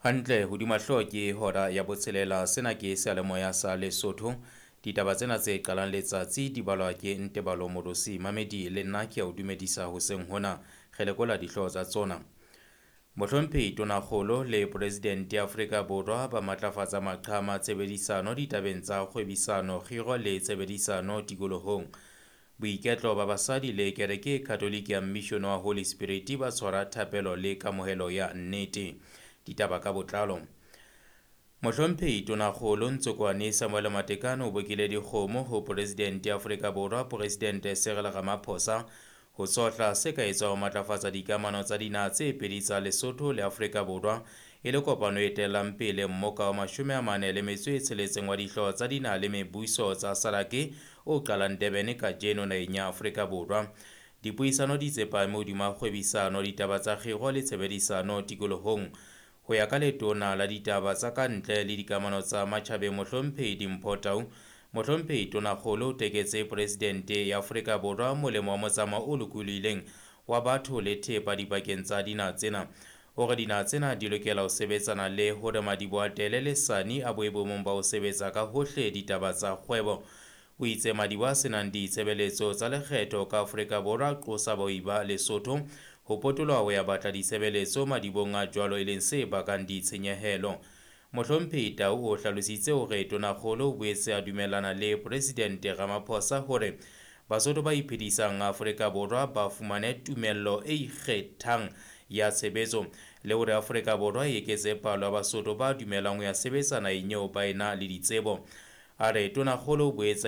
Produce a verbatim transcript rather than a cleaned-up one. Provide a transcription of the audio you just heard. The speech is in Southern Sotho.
Hantle hodima hlooho ke hora ya botshelela. Sena ke seyalemoya sa Lesotho. Ditaba tsena tse qalang letsatsi di balwa ke Ntebalo Morosi. Mamedi le nna ke a o dumedisa hoseng hona. Re lekola dihlooho tsa tsona. Mohlomphehi Tonakgolo le Presidente ya Afrika Borwa ba matlafatsa maqhama tshebedisano ditabeng tsa kgwebisano, kgiro le tshebedisano tikolohong. Boiketlo ba basadi le kereke e Katholike ya Mission wa Holy Spirit ba tshwara thapelo le kamohelo ya nnete. Ditaba ka botlalo. Mohlomphehi Tonakgolo Ntsokoane Samuel Matekane o bokile dikgomo ho Presidente ya Afrika Borwa Presidente Cyril Ramaphosa ho tsohla se ka etswa ho matlafatsa dikamano tsa dinaha tse pedi tsa Lesotho le Afrika Borwa e le kopano e etellang pele mmoka wa mashome a mane le metso e tsheletseng wa dihlooho tsa dinaha le mebuso tsa SADC o qalang Durban kajeno naheng ya Afrika Borwa. Dipuisano di tsepame hodima kgwebisano, ditaba tsa kgiro le tshebedisano tikolohong. Ho ya ka letona la ditaba tsa ka ntle le dikamano tsa matjhabeng Mohlomphehi Dimpho Tau, Mohlomphehi Tonakgolo o teketse Presidente ya Afrika Borwa molemo wa motsamao o lokolohileng wa batho le thepa dipakeng tsa dinaha tsena. O re dinaha tsena di lokela ho sebetsana le hore madiboho a Tele le Sani a boe boemong ba ho sebetsa ka hohle ditaba tsa kgwebo. O itse madiboho a senang ditshebeletso tsa lekgetho ka Afrika Borwa qosa bahwebi ba Lesotho ho potoloha ho ya batla ditshebeletso madibohong a jwalo e leng se bakang ditshenyehelo. Mohlomphehi Tau o hlalositse hore Tonakgolo o boetse a dumellana le Presidente Ramaphosa hore Basotho ba iphedisang Afrika Borwa ba fumane tumello e ikgethang ya tshebetso le hore Afrika Borwa e eketse palo ya Basotho ba dumelang ho ya sebetsa naheng eo ba ena le ditsebo. A re Tonakgolo o boetse